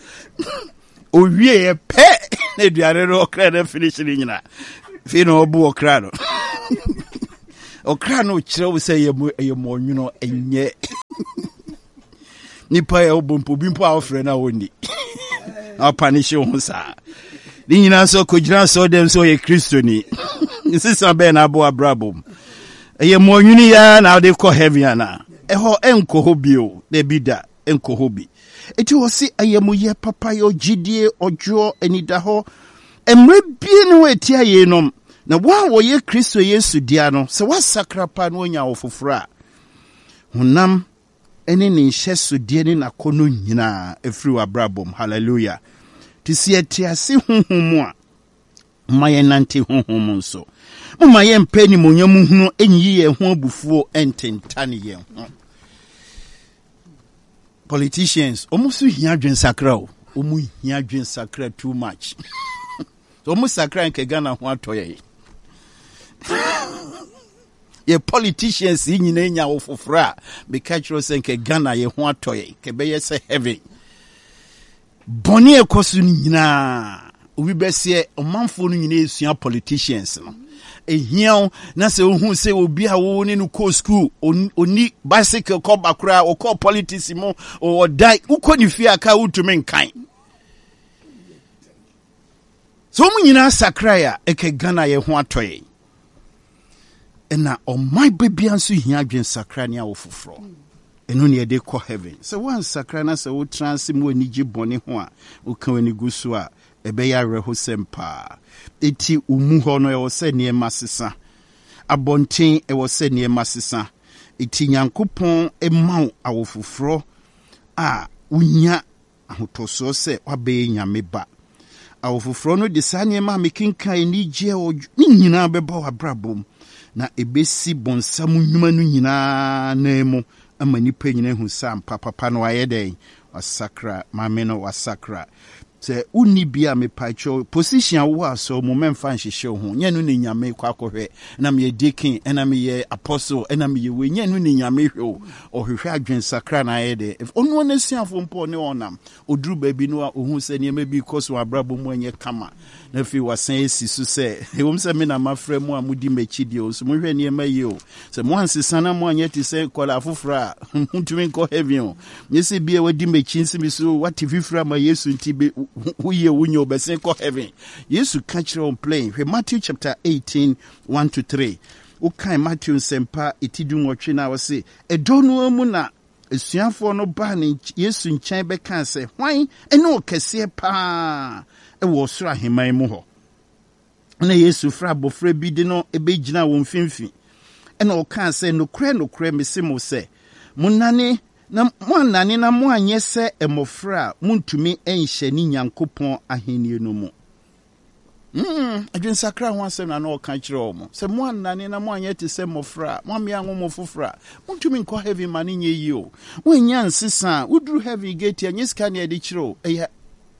Speaker 1: owieɛ pɛ. Na aduane no ɔkra no finish no nyina. Afei na ɔbo ɔkra no. Ɔkra no kyerɛ wo sɛ ɛyɛ mɔnwono ɛnyɛ. Nipa yɛ wobɔ mpo obi mpo a wofrɛ no a wɔnni. Na ɔpa ne hye wo ho saa. Ne nyinaa nso kɔgyina asɔre dɛm sɛ ɔyɛ Kristoni. Nsesa bɛn na abɔ abrabɔ mu. Ɛyɛ mɔnwene yi ara na wode kɔ heaven anaa? Ɛhɔ ɛnkɔ hɔ bio, dabi da, ɛnkɔ hɔ bi. Enti wɔse ayamuyɛ, papayɔ, gyidie, ɔdwoɔ, anidahɔ, mmerɛ bie ne hɔ ɛtia yeinom. Na wɔn a wɔyɛ Kristo Yesu dea no, sɛ wɔasakra paa na wɔanya awo foforɔ a, honam ne ne nhyɛsodeɛ ne n'akɔnnɔ nyinaa ɛfiri w'abrabɔ mu. Hallelujah. Nti sɛ yɛte ase honhom mu a, momma yɛnnante honhom mu nso. Momma yɛmpɛ animuonyam hunu nyi yɛn ho abufuo ntentane yɛn ho. Politicians, wɔn nso hia adwensakra o. Wɔn hia adwensakra too much. Wɔn sakra nka Ghana ho atɔ yɛn. Yɛ politicians yi nyinaa nya wo foforɔ a, meka kyerɛ sɛ nka Ghana yɛ ho atɔ yɛn, nka ɛbɛyɛ sɛ heaven. Bɔne a ɛkɔ so no nyinaa, obi bɛseɛ ɔmanfoɔ no nyinaa esua politicians no. Ehia wo na sɛ wohu sɛ obi a wo ne no kɔɔ school, onni bicycle kɔba koraa, ɔkɔɔ politics mu, ɔdan, wokɔ ne fie a ka wotumi nkan. Sɛ wɔn nyinaa sakrae a, ɛkɛ Ghana yɛ ho atɔ yɛn. Ɛna ɔman ba bia nso hia adwensakra ne awo foforɔ. Ɛno ne yɛde kɔ heaven. Sɛ woansakra na sɛ wotena ase mu anigye bɔne ho a, woka w'ani gu so a, ɛbɛyɛ awerɛhosɛm paa. Enti wo mu hɔ no, ɛwɔ sɛ nneɛma sesa. Abɔnten, ɛwɔ sɛ nneɛma sesa. Enti Nyankopɔn ma wo awo foforɔ a wonya ahotɔsoɔ sɛ woabɛyɛ Nyame ba. Awofoforɔ no de saa nneɛma a mekenkan, anigyeɛ, ɔdwo, ne nyinaa bɛba w'abrabɔ mu, na ɛbɛsi bonsam nnwuma no nyinaa nan mu ama nnipa nyinaa ahu sɛ ampa papa no wayɛ dɛn? Wasakra, maame no wasakra. Sɛ wonni bi a mepakyɛw, position a wowɔ asɔre mu mɛmfa nhyehyɛ wo ho. Nyɛ no ne Nyame kɔ akɔhwɛ. Ɛna meyɛ deacon, ɛna meyɛ apostle, ɛna meyɛ wei. Nyɛ no ne Nyame hwɛ o. Ɔhwehwɛ adwensakra na ayɛ dɛ. Ɔno ara n'asuafo mpo ɔne wɔn nam. Ɔduru baabi no a ɔhu sɛ nneɛma bi rekɔ so wɔ abrabɔ mu a ɛnyɛ kama. Na afei wasan asi so sɛ, ɛwom sɛ me na mafrɛ mo a modi m'akyi deɛ, nso monhwɛ nneɛma yie o. Sɛ moansesa na moanyɛ te sɛ nkwadaa afoforɔ a, montumi nkɔ heaven o. Nyɛ sɛ bi a wadi m'akyi nsi me so, wate fifiri ama Yesu nti, be, woyɛ wonyɛ wobɛsen kɔ heaven. Yesu ka kyerɛ wɔn plain. Hwɛ Matthew chapter eighteen, one to three. Wokan Matthew nsɛmpa eti du nwɔtwe no a, ɔse, ɛdɔ no ara mu na asuafoɔ no baa ne Yesu nkyɛn bɛkaa sɛ, hwan ne ɔkɛseɛ paa wɔ ɔsoro ahemman mu hɔ? Na Yesu frɛ abɔfra bi de no bɛgyinaa wɔn mfimfini, ɛna ɔkaa sɛ, nokorɛ, nokorɛ, mese mo sɛ, monane na moannane na moanyɛ sɛ mmɔfra a, montumi nhyɛne Nyankopɔn ahennie no mu. Mm, adwensakra ho asɛm na na ɔka kyerɛ wɔn. Sɛ moannane na moanyɛ te sɛ mmɔfra a, moammea anwo mo foforɔ a, montumi nkɔ heaven ma no nyɛ yie o. Woannya nsesa a, woduru heaven gate a, nyɛ sika na yɛde kyerɛ o, ɛyɛ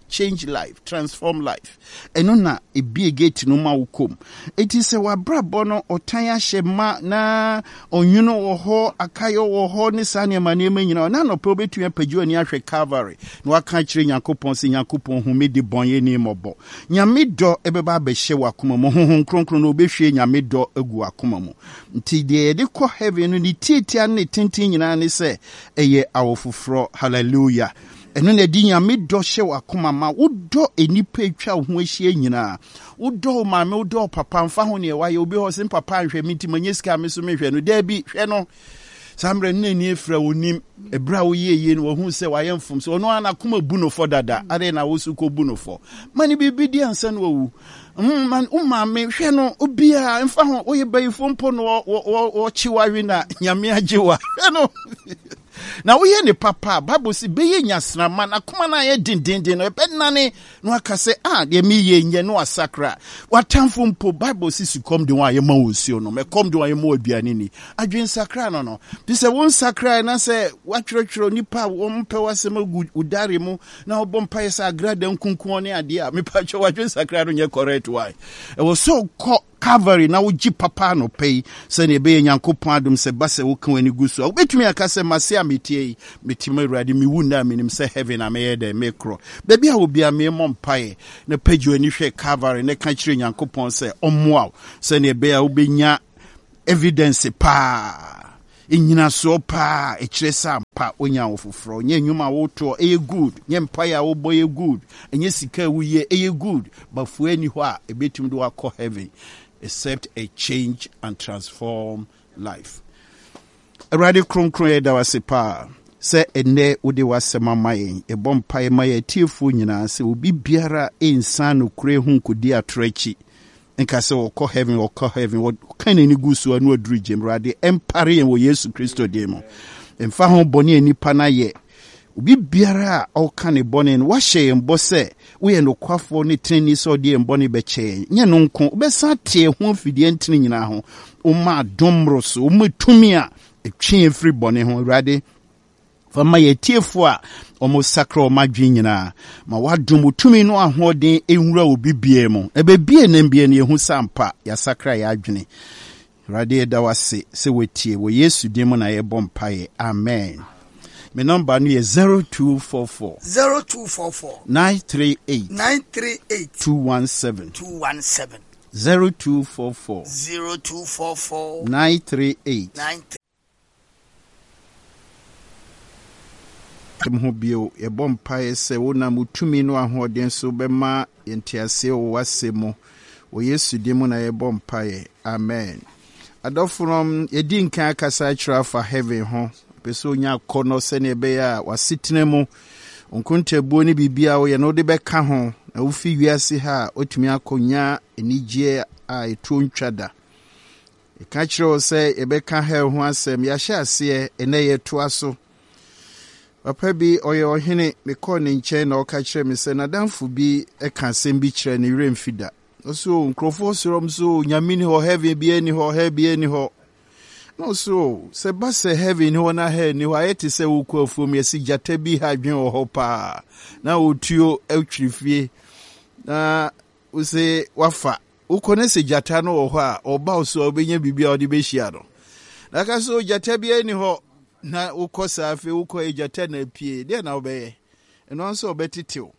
Speaker 1: change life, transform life. Ɛno na ebie gate no ma wo kɔm. Eti sɛ w'abrabɔ no ɔtan ahyɛ ma na ɔnwono wɔ hɔ, akayɔ wɔ hɔ ne saa nneɛma nneɛma nyinaa, na anɔpɛ wobɛtumi apagye w'ani ahwɛ Calvary na waka akyerɛ Nyankopɔn sɛ, Nyankopɔn hu me de bɔnyɛni mmɔbɔ. Nyame dɔ ɛbɛba abɛhyɛ w'akoma mu. Honhom Kronkron no ɔbɛhwie Nyame dɔ agu w'akoma mu. Nti deɛ yɛde kɔ heaven no ne tiatia ne ne tenten nyinaa ne sɛ ɛyɛ awo foforɔ. Hallelujah. Ɛno na ɛde Nyame dɔ hyɛ w'akoma ma. Wodɔ nnipa atwa wo ho ahyia nyinaa. Wodɔ wo maame, wodɔ wo papa, mfa ho neɛ wayɛ. Obi hɔ sɛ papa nhwɛ me nti manya sika me so mehwɛ no. Daabi, hwɛ no. Saa mmerɛ no n'ani afira, onim. Ɛberɛ a woyɛ yie no wahu sɛ wayɛ mfomso. Ɔno ara n'akoma bu no fɔ dada. Adɛn na wo so kɔbu no fɔ? Ma no biribi di ansa na wawu. Mm, ma wo maame hwɛ no, obiara mfa ho woyɛ bayifoɔ mpo no wɔkye wawe na Nyame agye wa. Hwɛ no. Na woyɛ ne papa a, Bible se bɛyɛ nyasramma, n'akoma no ayɛ dendenden no, ɛbɛnane na waka sɛ, ah, deɛ meyɛ nyɛ, na wasakra. W'atamfo mpo, Bible se sukɔm de wɔn a yɛma wɔn nsuo nom, ɛkɔm de wɔn a yɛma wɔn aduane ni. Adwensakra no no. Nti sɛ wonsakrae na sɛ woatwerɛtwerɛ nnipa a wɔmpɛ w'asɛm agu wo diary mu na wobɔ mpaeɛ sɛ agrada nkunkuo ne adeɛ a, mepakyɛ w'adwensakra no nyɛ correct. Why? Ɛwɔ sɛ wokɔ Calvary na wogye papa anɔpa yi, sɛnea ɛbɛyɛ Nyankopɔn adom sɛ ba sɛ woka w'ani gu so a, wobɛtumi aka sɛ, mase a metie yi, mete mu Awurade, mewu nnɛ a menim sɛ heaven a mɛyɛ dɛn mekorɔ. Baabi a wobia meemmɔ mpaeɛ na pagye w'ani hwɛ Calvary na ka kyerɛ Nyankopɔn sɛ ɔmmoa wo sɛnea ɛbɛyɛ a wobɛnya evidence paa, nnyinasoɔ paa ɛkyerɛ sɛ ampa wonya wo foforɔ. Nyɛ nnwuma a wotoɔ ɛyɛ good, nyɛ mpaeɛ a wobɔ yɛ good, ɛnyɛ sika a woyɛ ɛyɛ good, bafoɔ ani hɔ a ɛbɛtumi de wakɔ heaven except a change and transform life. Awurade kronkron, yɛda wo ase paa sɛ ɛnnɛ wode w'asɛm ama yɛn. Yɛbɔ mpaeɛ ma yɛn atiefoɔ nyinaa sɛ obi biara ɛnsan nokorɛ ho nkɔdi atorɔ akyi nka sɛ wɔkɔ heaven, wɔkɔ heaven, wɔka n'ani gu so a na waduru gyem. Awurade, ɛmpare yɛn wɔ Yesu Kristo din mu. Ɛmfa ho bɔne a nipa no ayɛ, obi biara a ɔka ne bɔne no, wahyɛ yɛn bɔ sɛ woyɛ nokwafoɔ ne tenani sɛ ɔde yɛn bɔne bɛkyɛ yɛn. Nyɛ no nko, wobɛsan ate yɛn ho afidie ntene nyinaa ho. Woma adom mmoro so, woma tumi a ɛtwe yɛn firi bɔne ho. Awurade, fa ma yɛn atiefoɔ a ɔmo sakra ɔmo adwene nyinaa, ma wadom wo tumi no ahoɔden nwura obi biara mu, na baabi a nam biara no yɛhu sɛ ampa yɛasakra yɛn adwene. Awurade, yɛda wo ase sɛ watie. Wɔ Yesu din mu na yɛbɔ mpaeɛ, amen. Me nɔmba no yɛ zero two four four
Speaker 2: zero two four four
Speaker 1: nine three eight
Speaker 2: nine three eight
Speaker 1: two one seven.
Speaker 2: two one seven.
Speaker 1: zero two four four
Speaker 2: zero two four four
Speaker 1: nine three eight
Speaker 2: nine
Speaker 1: ho bio. Yɛbɔ mpaeɛ sɛ wonam wo tumi no ahoɔden so bɛma yɛnteaseɛ wɔ w'asɛm mu. Wɔ Yesu din mu na yɛbɔ mpaeɛ, amen. Adɔfo no, yɛdi nkan akasa akyerɛ afa heaven ho. Pɛ sɛ onya akɔnnɔ sɛnea ɛbɛyɛ a w'asetena mu nkontabuo ne biribi a woyɛ no wode bɛka ho na wofi wiase ha a wotumi akɔnya anigyeɛ a ɛtuo ntwa da. Ɛka kyerɛ wo sɛ yɛbɛka hell ho asɛm. Yɛahyɛ aseɛ, ɛnɛ yɛtoa so. Papa bi ɔyɛ ɔhene, mekɔɔ ne nkyɛn na ɔka kyerɛ me sɛ n'adamfo bi ka asɛm bi kyerɛ ne werɛ mfi da. Ɔso nkurɔfoɔ sɔrɔ m so Nyame ni hɔ, heaven bi ani hɔ, hell bi ani hɔ. Na ɔso sɛ ba sɛ heaven ni hɔ na hell ni hɔ, ayɛ te sɛ wokɔ afuom, yɛsi gyata bi ha adwen wɔ hɔ paa na otuo atwiri fie na wose wafa wokɔ ne sɛ gyata no wɔ hɔ a ɔba wo so a, wobɛnya biribi a wode bɛhyia no. Na ka so gyata bi ani hɔ na wokɔ saa, afei wokɔ yɛ gyata na apue deɛ na wobɛyɛ ɛno nso ɔbɛtetew.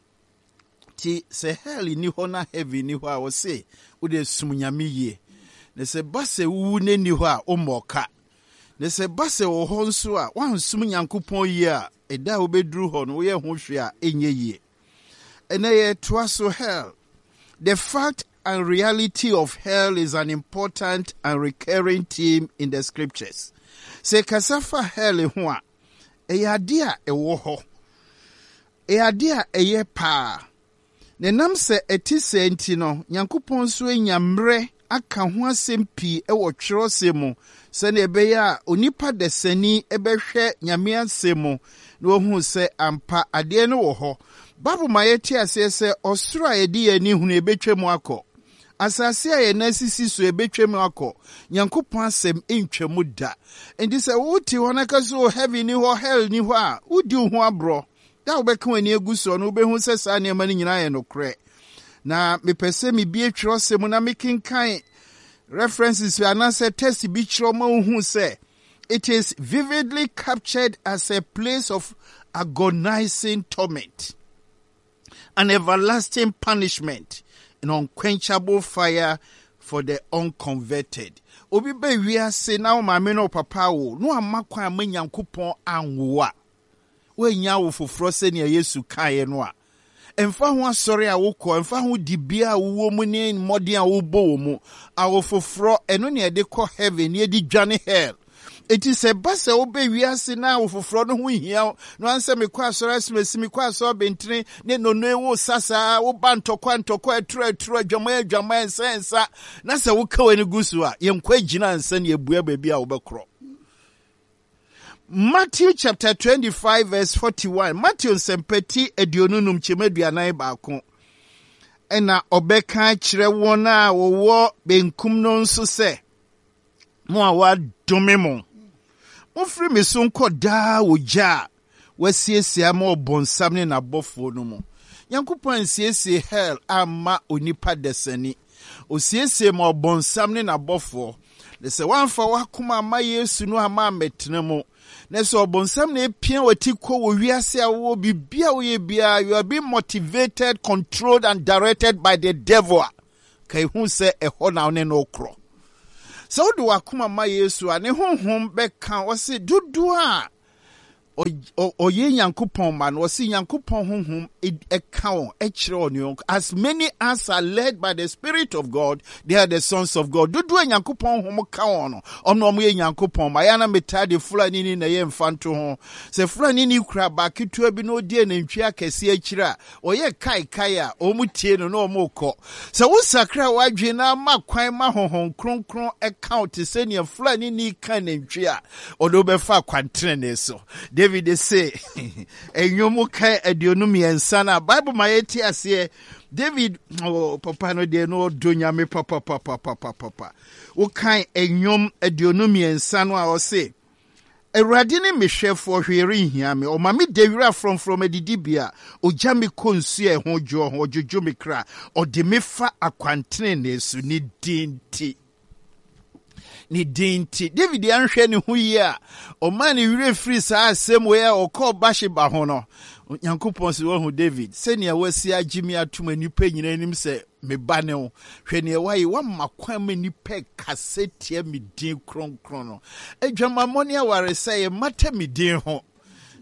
Speaker 1: Nti sɛ hell ni hɔ na heaven ni hɔ a, wɔse wode som Nyame yie, na sɛ ba sɛ wowu no ni hɔ a, wommɔ ka, na sɛ ba sɛ wɔ hɔ nso a woansom Nyankopɔn yie a, ɛda a wobɛduru hɔ no woyɛ ho hwee a ɛnyɛ yie. Ɛnɛ yɛtoa so, hell. The fact and reality of hell is an important and recurring theme in the scriptures. Sɛ kasa fa hell ho a, ɛyɛ ade a ɛwɔ hɔ, ɛyɛ ade a ɛyɛ paa, na ɛnam sɛ ɛte sɛ nti no, Nyankopɔn nso anya mmerɛ aka ho asɛm pii ɛwɔ twerɛsɛm mu sɛnea ɛbɛyɛ a onipa dasani ɛbɛhwɛ Nyame asɛm mu na wahu sɛ ampa adeɛ no wɔ hɔ. Bible ma yɛte aseɛ sɛ ɔsoro a yɛde yɛn ani hunu ɛbɛtwa mu akɔ, asase a yɛn nan sisi so ɛbɛtwa mu akɔ, Nyankopɔn asɛm ntwa mu da. Nti sɛ wote hɔ na ka so heaven ni hɔ, hell ni hɔ a, wodi wo ho aborɔ. Da wobɛka w'ani agu soɔ no, wobɛhu sɛ saa nneɛma no nyinaa yɛ nokorɛ. Na mepɛ sɛ mebie twerɛsɛm mu na mekenkan references anaasɛ text bi kyerɛ ma wohu sɛ it is vividly captured as a place of agonizing torment, an everlasting punishment, an unquenchable fire for the unconverted. Obi bɛ wiase na wo maame ne wo papa wo na wama kwan ama Nyankopɔn anwo a, woanya wo foforɔ sɛnea Yesu kaeɛ no a, ɛmfa ho asɔre a wokɔ, ɛmfa ho dibea a wowɔ mu ne mmɔden a wobɔ wɔ mu, awo foforɔ ɛno ne ɛde kɔ heaven ne yɛde dwane hell. Eti sɛ ba sɛ wobɛ wiase na awo foforɔ no ho hia wo na wansɛ mekɔ asɔre asomasi, mekɔ asɔre bentene ne nono wo sa saa, woba ntɔkwa ntɔkwa, aturo aturo, adwaman adwaman, nsa nsa, na sɛ woka w'ani gu so a, yɛnkɔ agyina nsa ne abua baabi a wobɛkorɔ. Matthew chapter twenty-five verse forty-one, Matthew nsɛmpɛti aduonu num kyɛm aduanan baako, ɛna ɔbɛka kyerɛ wɔn a wɔwɔ benkum no nso sɛ, mo a wɔadome mo, mofiri me so nkɔ daa ogya a wasiesie ama ɔbɔnsam ne n'abɔfoɔ no mu. Nyankopɔn ansiesie hell amma onipa dasani. Osiesie ma ɔbɔnsam ne n'abɔfoɔ. Na sɛ woamfa w'akoma amma Yesu no amma ammɛtena mu, na sɛ ɔbɔnsam na epia w'ati kɔ wɔ wiase a wowɔ biribi a woyɛ biara, you are being motivated, controlled and directed by the devil a, ka ehu sɛ ɛhɔ na wo ne no korɔ. Sɛ wode w'akoma ma Yesu a, ne honhom bɛka. Ɔse dodoɔ a ɔyɛ Nyankopɔn ma no, ɔse Nyankopɔn honhom ɛka wɔn, ɛkyerɛ wɔn yɔnko. As many as are led by the Spirit of God, they are the sons of God. Dodoɔ a Nyankopɔn honhom ka wɔn no, ɔno ɔmo yɛ Nyankopɔn ma. Yɛn na metaa de Fulani ni na ɛyɛ mfa nto ho. Sɛ Fulani ni kura baa ketewa bi na odi anantwi akɛseɛ akyire a, ɔyɛ kaekae a, wɔn tie no na wɔn kɔ. Sɛ wosakra w'adwene na ama kwan ma Honhom Kronkron ɛka wo te sɛ nea Fulani ni ka nantwi a, ɔde wobɛfa akwantenene so. David se Nnwom ka aduonu mmiɛnsa no a, Bible ma yɛte aseɛ. David, oh, papa no deɛ no ɔdɔ Nyame papapapapapa. Wokan Nnwom aduonu mmiɛnsa no a, ɔse, "Awurade ne me hwɛfoɔ, hwee renhia me. Ɔma me da wira frɔmfrɔm adidibea. Ogya me kɔ nsuo a ɛho dwoɔ ho. Ɔdwodwo me kra. Ɔde me fa akwantenene so ne din nti." Ne din nti. David anhwɛ ne ho yie a, ɔmaa ne werɛ firi saa asɛm wei a ɔkɔɔ Bathsheba ho no. Onyankopɔn sɛ, "Wahu David, sɛnea wasi agye me atom nnipa nyinaa anim sɛ me ba ne wo. Hwɛ nea wayɛ, wama kwan ma nnipa kasa tia me din kronkron no. Adwamammɔ ne awaresɛeɛ mmata me din ho.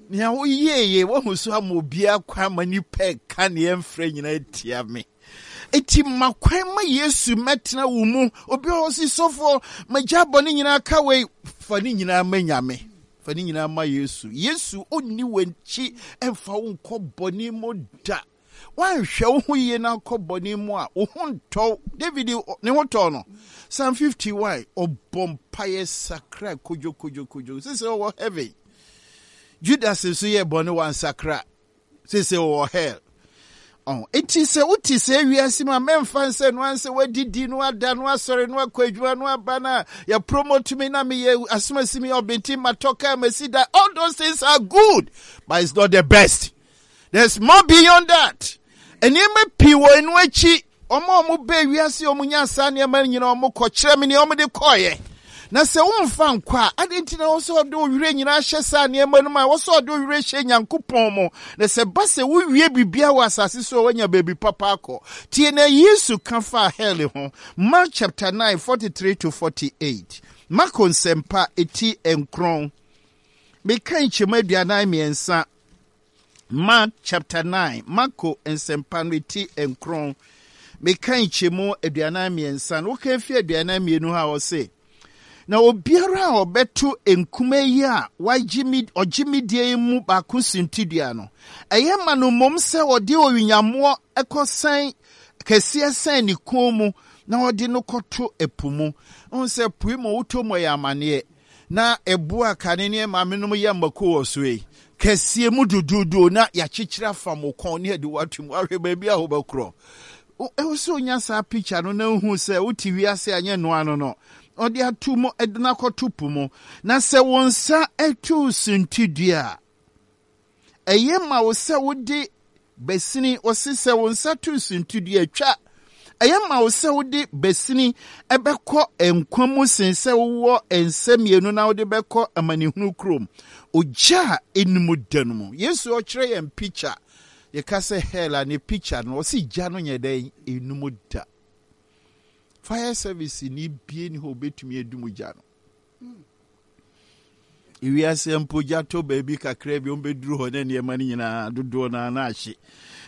Speaker 1: Nea woyɛeɛ, wahu so ama obiara kwan ma nnipa ka nea ɛmfrɛ nyinaa tia me. Eti ma kwan ma Yesu mɛtena wo mu." Obi a ɔsi, "Sɔfoɔ, magya bɔ ne nyinaa ka wei," fa ne nyinaa ma Nyame, fa ne nyinaa ma Yesu. Yesu ɔnni w'akyi ɛmfa wo nkɔ bɔne mu da. Woanhwɛ wo ho yie na akɔ bɔne mu a, wo ho ntɔw. David ne ho tɔɔ no. Psalm fifty-one, ɔbɔ mpaeɛ sakra kodwo kodwo kodwo sɛ sɛ ɔwɔ heaven. Judas nso yɛ bɔne, wansakra, sɛ sɛ ɔwɔ hell. Ɔn eti sɛ wote sɛ wiase mu a, mɛmfa nsɛ no ansɛ woadidi no, ada no, asɔre no, akɔ adwuma no, aba no a yɛpromote me na meyɛ asomasi, me ɔbɛnti matɔ kaa, masi da. All those things are good, but it's not the best. There's more beyond that. Nneɛma pii wɔ ɛno akyi. Ɔmo a ɔmo bɛ wiase, ɔmo nya saa nneɛma nyinaa, ɔmo kɔ. Kyerɛ me nea ɔmo de kɔɔyɛ. Na sɛ womfa nkɔ a, ade nti na wɔ sɛ ɔde wo werɛ nyinaa hyɛ saa nneɛma no mu a wɔ sɛ ɔde wo werɛ hyɛ Nyankopɔn mu? Na sɛ ba sɛ wowie biribia wɔ asase so a, woanya baabi papa akɔ. Tie na Yesu ka faa hell ho. Mark chapter nine, forty-three to forty-eight. Marko Nsɛmpa eti nkron, meka nkyɛmu aduanan mmiɛnsa. Mark chapter nine, Marko Nsɛmpa no eti nkron, meka nkyɛmu aduanan mmiɛnsa no. Woka fi aduanan mmienu ha, ɔse, "Na obiara a ɔbɛto nkuma yi a wagye me ɔgye me die yi mu baako suntidua no, ɛyɛ ma no mmom sɛ ɔde owinyamoɔ ɛkɔsɛn kɛseɛ sɛn ne kɔn mu na ɔde no kɔto ɛpo mu." Ɔhu sɛ po yi mu wotɔ mu, ɛyɛ amanneɛ na ɛboa kane ne maame nom yɛ mmako wɔ so yi kɛseɛ mu duduudu na yɛakyekyere afa mo kɔn ne yɛde wato mu ahwɛ baabi a wobɛkorɔ. Ɛwɔ sɛ onya saa picture no na ohu sɛ wote wiase anyɛ noa no no ɔde ato mu, ɛde no akɔto po mu. Na sɛ wo nsa ɛto suntidua a, ɛyɛ ma wo sɛ wode basini. Ɔse sɛ wo nsa to suntidua twa, ɛyɛ ma wo sɛ wode basini ɛbɛkɔ nkwa mu sen sɛ wowɔ nsa mmienu na wode bɛkɔ amanehunu kurom, ogya a ɛnum da no mu. Yesu ɔkyerɛ yɛn picture. Yɛka sɛ hell a, ne picture no, ɔse gya no nyɛ dɛn? Ɛnum da. Fire service ni bie ni hɔ obɛtumi adum gya no. Ewiase mpo, gya tɔ baabi kakra bi, ɔmbɛduru hɔ ne nneɛma no nyinaa dodoɔ no na ahye.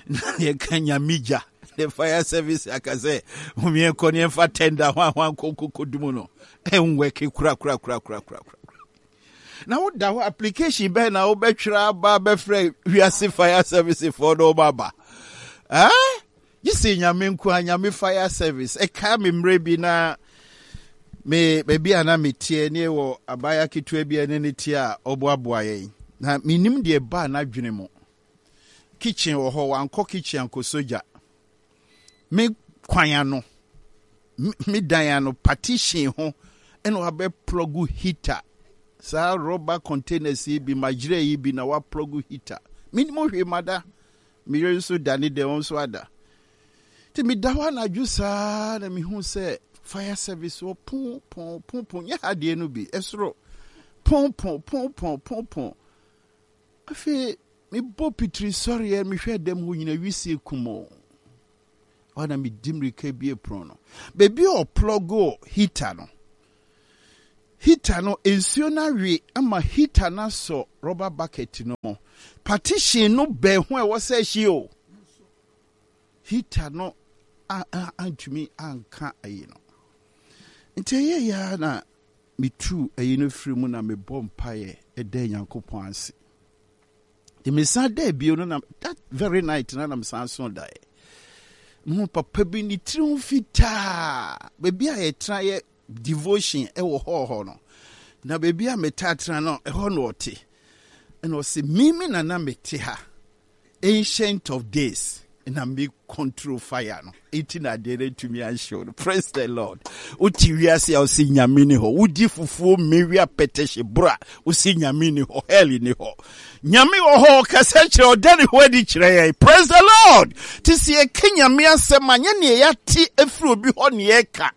Speaker 1: Na yɛka Nyame gya, the fire service aka sɛ homiɛnkɔ ne yɛmfa tender ho ahoa nkɔnkɔkɔdum no, ɛnwɛke korakorakorakorakora. Na woda hɔ, application bɛn na wobɛtwerɛ aba bɛfrɛ wiase fire service foɔ na wɔma aba? Ah, gye sɛ Nyame nko a, Nyame fire service. Ɛkaa me mmerɛ bi na me baabi a na meteɛ ne wɔ abaayewa ketewa bi a ne ne teɛ a ɔboaboa yɛn, na menim deɛ baa n'adwene mu. Kitchen wɔ hɔ, wankɔ kitchen ankɔsɔ gya. Me kwan ano, me dan ano partition ho ɛna wabɛ plug heater, saa rubber containers yi bi, magyerɛ yi bi, na waplug heater. Menim hwee, mada. Meyere nso da ne dɛm, nso ada. Nti meda hɔ anadwo saa na mehu sɛ fire service wɔ pon pon pon pon, nyɛ ha deɛ no bi, ɛsoro pon pon pon pon pon pon. Afei mebɔ pitiri sɔreɛ, mehwɛ dɛm hɔ nyina wisie kum o. Hɔ na medi mmirika bie pono no, baabi a ɔplug heater no, heater no nsuo no awe ama heater no asɔ rubber bucket no mu. Partition no bɛn ho a ɛwɔ sɛ ɛhye o, heater no antumi anka ayi no. Nti ɛyɛ ya na metu ayi no firi mu na mebɔ mpaeɛ ɛda Nyankopɔn ase. Nti mesan da bio no, na that very night na na mesan so daeɛ mehu papa bi ne tiri ho fitaa, baabi a yɛtena yɛ devotion ɛwɔ hɔ hɔ no, na baabi a metaa tena no, ɛhɔ na ɔte. Ɛna ɔsɛ mimi na na mete ha, Ancient of Days, na me control fire no, eti na adeɛ no atumi anhyew no. Praise the Lord. Wote wiase a, wosi Nyame ni hɔ. Wodi fufuo mmewi apɛtɛhye bora, wosi Nyame ni hɔ, hell ni hɔ. Nyame wɔ hɔ, ɔkasa kyerɛ, ɔda ne ho adi kyerɛ yɛn. Praise the Lord. Te sɛ yɛka Nyame asɛm a, nyɛ neɛ yɛate afiri obi hɔ ne yɛka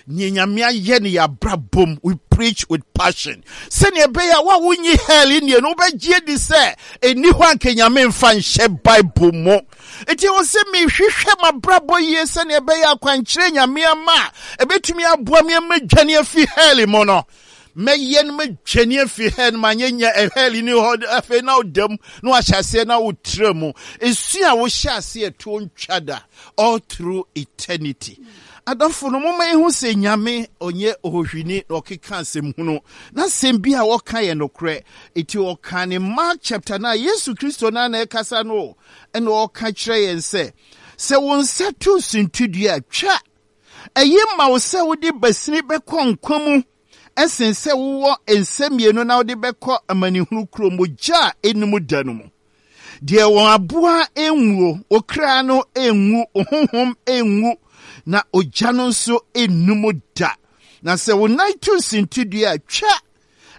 Speaker 1: neɛ Nyame ayɛ ne yɛabrabom. We preach with passion sɛnea ɛbɛyɛ a wo a wonyi hell nnie no, wobɛgye adi sɛ ɛni hɔ anka Nyame mfa nhyɛ Bible mu. Nti wɔ sɛ mehwehwɛ m'abrabɔ yie sɛnea ɛbɛyɛ akwankyerɛ Nyame ama a ɛbɛtumi aboa me ama dwane afi hell mu no, mɛyɛ no madwane afi hell no. Manyɛ nya hell ni hɔ. Afei na wodam na wahyɛ aseɛ na wotrɛ mu ɛsu a wohyɛ aseɛ toɔ ntwa da all through eternity. Adɔfo no, momma yɛhu sɛ Nyame ɔnyɛ ɔhɔhwini na ɔkeka asɛm hunu, na asɛm bi a wɔka yɛ nokorɛ. Ɛti ɔka ne Mark chapter no a, Yesu Kristo no na ɛkasa no, ɛna ɔka kyerɛ yɛn sɛ, sɛ wo nsa to suntidua a, twa. Ɛyɛ ma wo sɛ wode basini bɛkɔ nkwa mu ɛsen sɛ wowɔ nsa mmienu na wode bɛkɔ amanehunu kurom, ogya a ɛnum da no mu, deɛ wɔn aboa nwuo, okra no nwu, honhom nwu, na ogya no nso nnum da. Na sɛ wo nan to suntidua a, twa.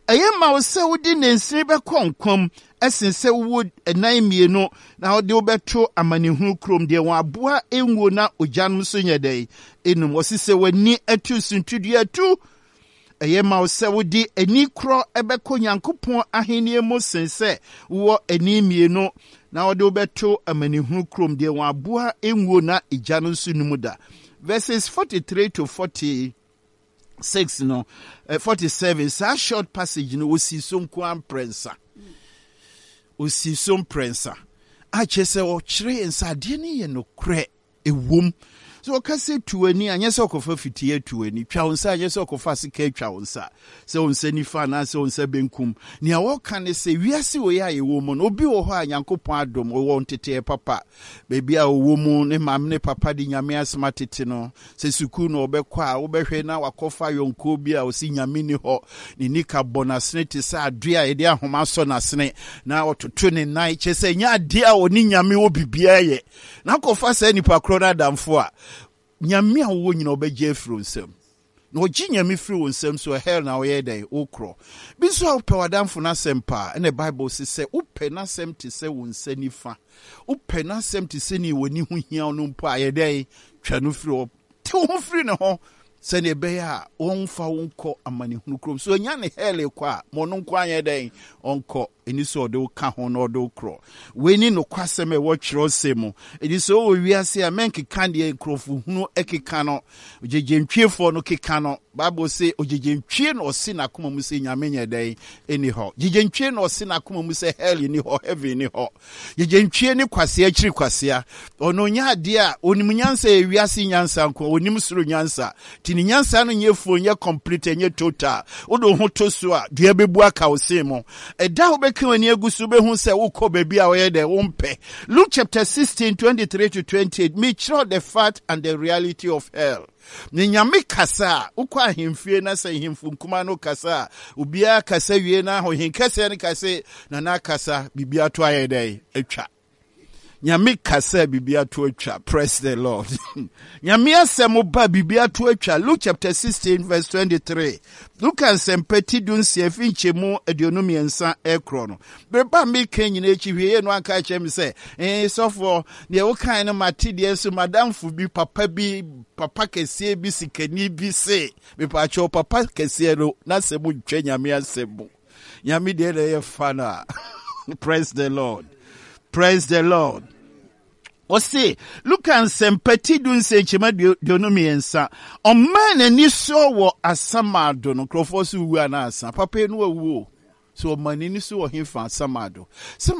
Speaker 1: Ɛyɛ ma wo sɛ wode nansini bɛkɔ nkwam ɛsen sɛ wowɔ ɛnan mmienu na wode wobɛto amanehunu kurom, deɛ wɔn aboa nwuo na ogya no nso nyɛ dɛn enum. Wɔsi sɛ w'ani atu suntidua tu. Ɛyɛ ma wo sɛ wode ani korɔ ɛbɛkɔ Nyankopɔn ahenni mu sen sɛ wowɔ ani mmienu na wɔde wobɛto amanehunu kurom, deɛ wɔn aboa nwuo na egya no nso num da. Verses forty-three to forty-six no, eh, forty-seven, saa short passage no, osi so nko mprɛnsa, osi so mprɛnsa akyerɛ sɛ ɔkyerɛ yɛn sɛ adeɛ no yɛ nokorɛ. Ɛwom sɛ ɔka sɛ tu ani anyɛ sɛ ɔkɔfa fitie atu ani, twa wo nsa anyɛ sɛ ɔkɔfa sika atwa wo nsa, sɛ wo nsa nifa anaasɛ wo nsa benkum. Nea wɔka ne sɛ wiase wei a yɛwɔ mu no, obi wɔ hɔ a Nyankopɔn adom, ɔwɔ nteteɛ papa. Baabi a ɔwɔ mu, ne maame ne papa de Nyame asɛm atete no. Sɛ sukuu na ɔbɛkɔ a, wobɛhwɛ na wakɔfa yɔnkoɔ bi a ɔsi Nyame ni hɔ, ne nika bɔ n'asene te sɛ adoe a yɛde ahoma asɔ n'asene, na ɔtoto ne nan, kyerɛ sɛ ɛnyɛ adeɛ a ɔne Nyame wɔ biribiara yɛ. Na akɔfa saa nipa korɔ no adamfo a, Nyame a wowɔ nyina ɔbɛgye afiri wo nsam. Na ɔgye Nyame firi wo nsam so, hell na ɔyɛ dɛn wokorɔ. Bi nso a wopɛ w'adamfo no asɛm paa, ɛna Bible se sɛ wopɛ n'asɛm te sɛ wo nsa nifa, wopɛ n'asɛm te sɛ ne w'ani ho hia no mpo a, yɛ dɛn twa no firi hɔ, te wo ho firi ne ho, sɛdeɛ ɛbɛyɛ a wɔmfa wo nkɔ amanehunu kurom. So ɔnya ne hell kɔ a, ma ɔno nko anyɛ dɛn ɔnkɔ. Ɛni sɛ ɔde wo ka ho na ɔde wo korɔ. Wei ne nokwasɛm a ɛwɔ twerɛsɛm mu. Ɛdi sɛ wowɔ wiase a, mɛnkeka deɛ nkurɔfo hunu keka no, ogyegyentwiefoɔ no keka no. Bible se ogyegyentwie na ɔse n'akoma mu sɛ Nyame nyɛ dɛn ɛni hɔ. Gyegyentwie na ɔse n'akoma mu sɛ hell ni hɔ, heaven ni hɔ. Gyegyentwie ne kwasea akyiri kwasea. Ɔno nyɛ adeɛ a onim nyansa, yɛ wiase nyansa nko, onim soro nyansa. Nti ne nyansa no nyɛ fuo, nyɛ complete, nyɛ total. Wode wo ho to so a, dua bɛbu aka wo sen mu. Ɛda a wobɛka w'ani agu so, wobɛhu sɛ wokɔ baabi a wɔyɛ dɛ wompɛ. Luke chapter sixteen, twenty-three to twenty-eight, mekyerɛw the fact and the reality of hell. Ne Nyame kasa a, wokɔ ahemfie na sɛ ahemfo nkuma no kasa a, obiara kasa wie na ɔhen kɛseɛ no kase, "Nana kasa, biribi ato ayɛ dɛn atwa." Nyame kasa, biribi ato atwa. Praise the Lord. Nyame asɛm ba, biribi ato atwa. Luke chapter sixteen verse twenty-three. Luka Nsɛmpa ti du nsia fi nkyɛmu aduonu mmiɛnsa ɛkorɔ no. Bereba meka nyina akyi, hwee no anka kyerɛ me sɛ ee sɔfoɔ, deɛ wokae no mate. Deɛ nso madamfo bi, papa bi, papa kɛseɛ bi, sikani bi se mepaakyɛw, papa kɛseɛ no n'asɛm ntwa Nyame asɛm mu. Nyame deɛ na ɛyɛ fa no a. Praise the Lord. Praise the Lord. Ɔse Luka Nsɛmpa ti du nsia nkyɛmu aduonu mmiɛnsa, ɔmaa n'ani so wɔ asamado no. Nkurɔfoɔ so wu anaasa papa yi no awuo so, ɔma n'ani so wɔ hefa? Asamado sɛ